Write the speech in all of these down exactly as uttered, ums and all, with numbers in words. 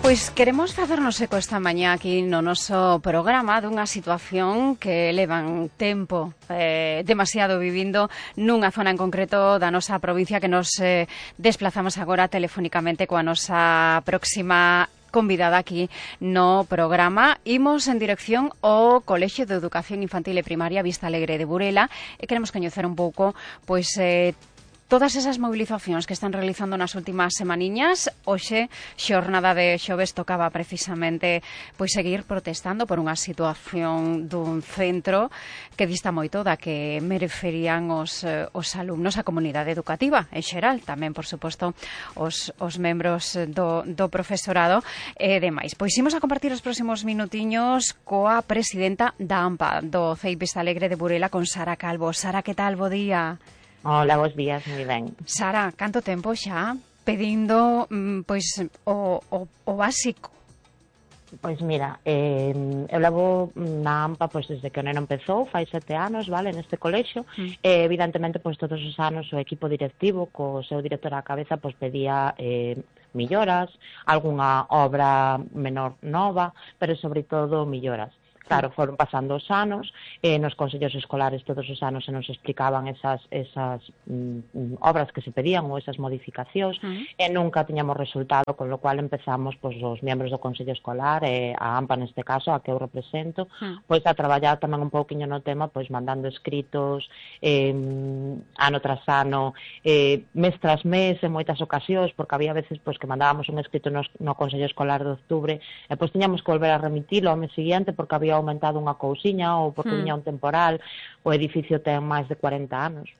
Pois queremos facernos eco esta mañá aquí no noso programa dunha situación que levan tempo eh, demasiado vivindo nunha zona en concreto da nosa provincia, que nos eh, desplazamos agora telefónicamente coa nosa próxima convidada aquí no programa. Imos en dirección ao Colexio de Educación Infantil e Primaria Vista Alegre de Burela e queremos coñecer un pouco pois eh, todas esas movilizacións que están realizando nas últimas semaniñas. Hoxe, xornada de xoves, tocaba precisamente pois seguir protestando por unha situación dun centro que dista moito da que merecerían os, os alumnos, a comunidade educativa en xeral, tamén, por suposto, os, os membros do, do profesorado e demais. Pois imos a compartir os próximos minutiños coa presidenta da AMPA, do C E I Vista Alegre de Burela, con Sara Calvo. Sara, que tal? Bo día. Hola, bons días, moi ben. Sara, canto tempo xa pedindo pois o, o, o básico? Pois mira, eh, eu levo na AMPA pois desde que o neno empezou, fai sete anos, vale, neste colexio, mm. e evidentemente pois todos os anos o equipo directivo co seu director á cabeza pois pedía eh, melloras, algunha obra menor nova, pero sobre todo melloras. Claro, foron pasando os anos, eh, nos consellos escolares todos os anos se nos explicaban esas, esas mm, obras que se pedían ou esas modificacións, uh -huh. e nunca tiñamos resultado, con lo cual empezamos pois, os membros do Consello Escolar, e a AMPA neste caso, a que eu represento, uh -huh. pois a traballar tamén un pouquiño no tema, pois mandando escritos, eh, ano tras ano, eh, mes tras mes, en moitas ocasións, porque había veces pois, que mandábamos un escrito no, no Consello Escolar de Octubre, e pois tiñamos que volver a remitilo ao mes seguinte, porque había aumentado unha cousiña ou porque viña un temporal. O edificio ten máis de cuarenta anos.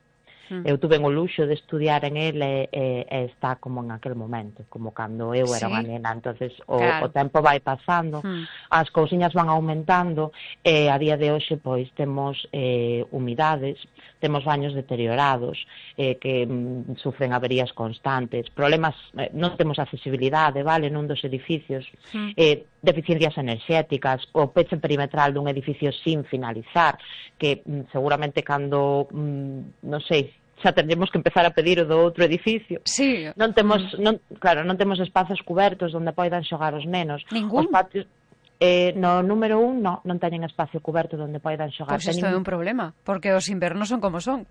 Mm. Eu tuve o luxo de estudiar en ele e, e está como en aquel momento, como cando eu era sí. unha nena. Entonces o, claro. o tempo vai pasando, mm. as cousiñas van aumentando e a día de hoxe pois temos eh, humidades, temos baños deteriorados eh, que mm, sufren averías constantes, problemas, eh, non temos accesibilidade, vale, nun dos edificios, mm. eh, deficiencias enerxéticas, o peche perimetral dun edificio sin finalizar, que mm, seguramente cando, mm, non sei, xa tendremos que empezar a pedir o do outro edificio. Sí. Non temos, non, claro, non temos espazos cubertos onde poidan xogar os nenos. Ningún? Os patios, eh, no número un, no, non teñen espacio cuberto onde poidan xogar. Pois isto é un problema, porque os invernos son como son.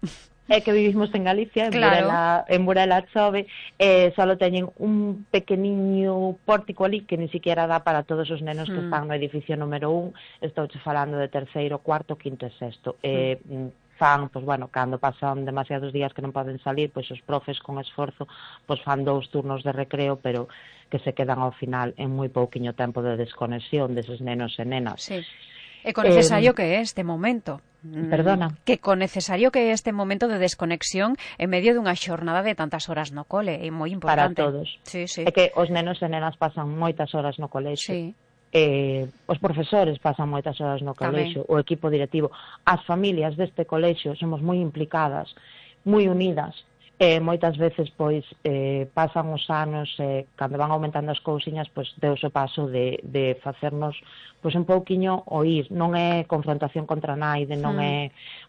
É que vivimos en Galicia, en, claro. Burela, en Burela chove, e só teñen un pequeniño pórtico ali que ni siquiera dá para todos os nenos mm. que están no edificio número un. Estou che falando de terceiro, cuarto, quinto e sexto. Mm. Eh, fan, pois, bueno, cando pasan demasiados días que non poden salir, pois os profes con esforzo pois fan dous turnos de recreo, pero que se quedan ao final en moi pouquiño tempo de desconexión deses nenos e nenas. Sí. E con necesario eh, que é este momento. Perdona. Que con necesario que é este momento de desconexión en medio dunha xornada de tantas horas no cole, é moi importante. Para todos. Sí, sí. É que os nenos e nenas pasan moitas horas no colexio. Sí. Eh, os profesores pasan moitas horas no colexio, o equipo directivo, as familias deste colexio somos moi implicadas, moi unidas, e moitas veces pois eh, pasan os anos e eh, cando van aumentando as cousiñas pois deus o paso de, de facernos pois un pouquiño oír. Non é confrontación contra naide, non mm. é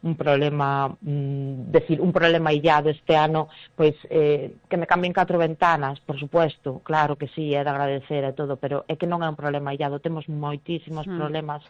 un problema mm, decir, un problema illado este ano, pois eh, que me cambien catro ventanas, por supuesto, claro que sí, é de agradecer e todo, pero é que non é un problema illado, temos moitísimos mm. problemas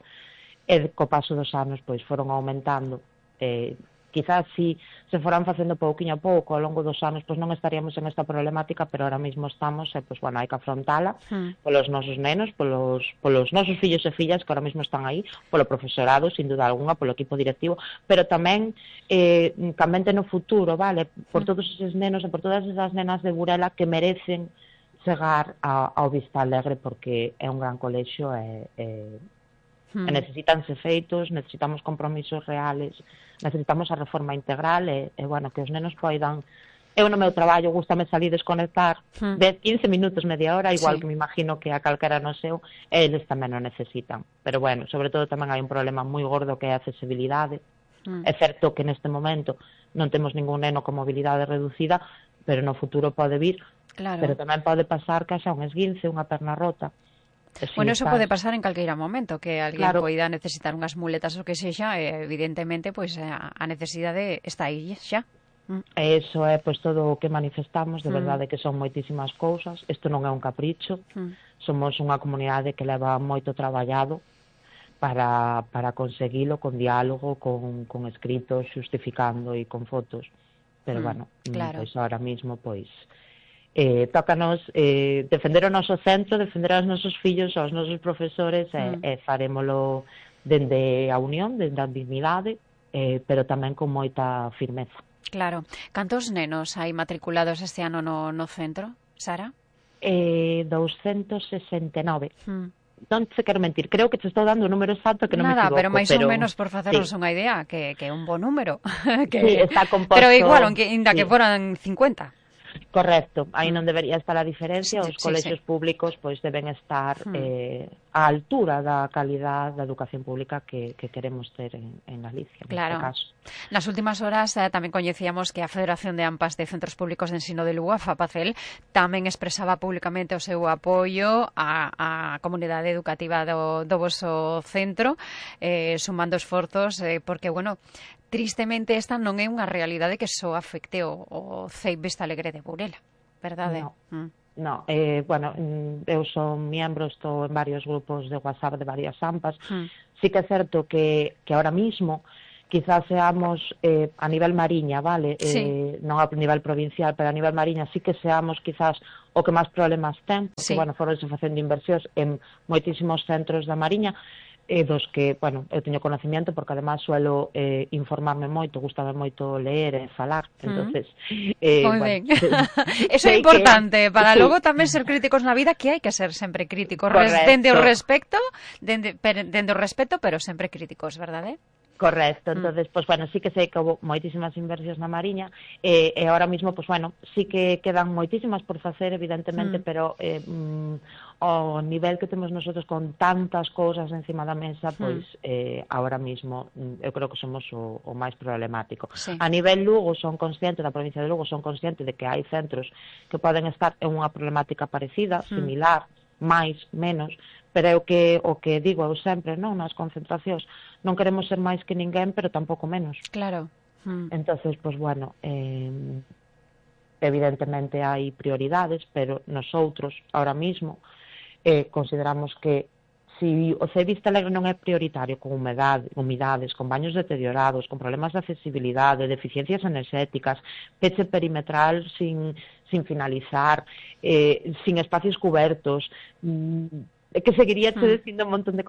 e co paso dos anos pois foron aumentando. eh, quizás si se foran facendo pouquiño a pouco ao longo dos anos, pois non estaríamos en esta problemática, pero ahora mesmo estamos, e pois bueno, hai que afrontala mm. polos nosos nenos, polos, polos nosos fillos e fillas que ahora mesmo están aí, polo profesorado, sin duda alguna, polo equipo directivo, pero tamén eh, camente no futuro, vale, por mm. todos eses nenos e por todas esas nenas de Burela que merecen chegar a, ao Vista Alegre, porque é un gran colexio e, e Hmm. e necesitanse feitos, necesitamos compromisos reales, necesitamos a reforma integral e, e bueno, que os nenos poidan. Eu no meu traballo gústame salir desconectar hmm. dez, quince minutos, media hora, igual sí. que me imagino que a calquera no seu, e eles tamén o necesitan. Pero bueno, sobre todo tamén hai un problema moi gordo que é a accesibilidade. Hmm. É certo que neste momento non temos ningún neno con mobilidade reducida, pero no futuro pode vir, claro. pero tamén pode pasar que xa un esguince, unha perna rota. Sí, bueno, eso estás... pode pasar en calqueira momento, que alguén claro. poida necesitar unhas muletas ou que sexa, e evidentemente, pois a necesidade está aí xa. Mm. E iso é pois todo o que manifestamos, de verdade mm. que son moitísimas cousas, isto non é un capricho, mm. somos unha comunidade que leva moito traballado para, para conseguilo, con diálogo, con, con escritos, justificando e con fotos, pero mm. bueno, claro. pois ahora mismo pois eh, tócanos eh, defender o noso centro, defender aos nosos fillos, aos nosos profesores mm. e, e farémolo dende a unión, dende a dignidade, eh, pero tamén con moita firmeza. Claro. Cantos nenos hai matriculados este ano no, no centro, Sara? Eh, doscientos sesenta e nove. Hmm. Non se quero mentir, creo que te estou dando un número exacto que non Nada, me equivoco. Nada, pero máis pero... ou menos por facernos sí. unha idea, que, que é un bo número. que... Sí, está composto... Pero igual, ainda sí. que foran cincuenta. Correcto, aí non debería estar a diferencia, os sí, colexios sí. públicos pois deben estar hmm. eh, á altura da calidad da educación pública que, que queremos ter en, en Galicia, claro. neste caso. Nas últimas horas eh, tamén coñecíamos que a Federación de AMPAs de Centros Públicos de Ensino de Lugo, a FAPACEL, tamén expresaba públicamente o seu apoio á, á comunidade educativa do, do voso centro, eh, sumando esforzos, eh, porque, bueno, tristemente esta non é unha realidade que só afecte o, o C E I Vista Alegre de Burela, verdade? No, mm. no eh, bueno, eu son miembro, estou en varios grupos de WhatsApp de varias AMPAs, mm. sí que é certo que, que ahora mismo quizás seamos eh, a nivel Mariña, vale? Sí. Eh, non a nivel provincial, pero a nivel Mariña sí que seamos quizás o que máis problemas ten, porque, sí. bueno, foronse facendo inversións en moitísimos centros da Mariña, e dos que, bueno, eu teño conocimiento porque además suelo eh, informarme moito, gustame moito ler e falar, entonces mm. eh, moi bueno, ben. Eso é importante, que... para sí. logo tamén ser críticos na vida, que hai que ser sempre críticos, dende o respecto, dende, dende o respeto, pero sempre críticos, verdade? Correcto, entonces, mm. pues bueno, sí que sei que houve moitísimas inversións na Mariña e, e ahora mismo, pues bueno, sí que quedan moitísimas por facer, evidentemente, mm. pero eh, mm, o nivel que temos nosotros con tantas cousas encima da mesa, pois mm. eh, ahora mismo eu creo que somos o, o máis problemático. Sí. A nivel Lugo son consciente, da provincia de Lugo son consciente de que hai centros que poden estar en unha problemática parecida, mm. similar, máis, menos, pero é o que, o que digo eu sempre, non, nas concentracións, non queremos ser máis que ninguén, pero tampouco menos. Claro. Mm. Entonces, pues bueno, eh, evidentemente hai prioridades, pero nosotros, ahora mismo, eh, consideramos que si o C E I Vista Alegre non é prioritario con humedade, humidades, con baños deteriorados, con problemas de accesibilidade, deficiencias enerxéticas, peche perimetral sin, sin finalizar, eh, sin espacios cubertos, mmm, que seguiría te dicindo un montón de cosas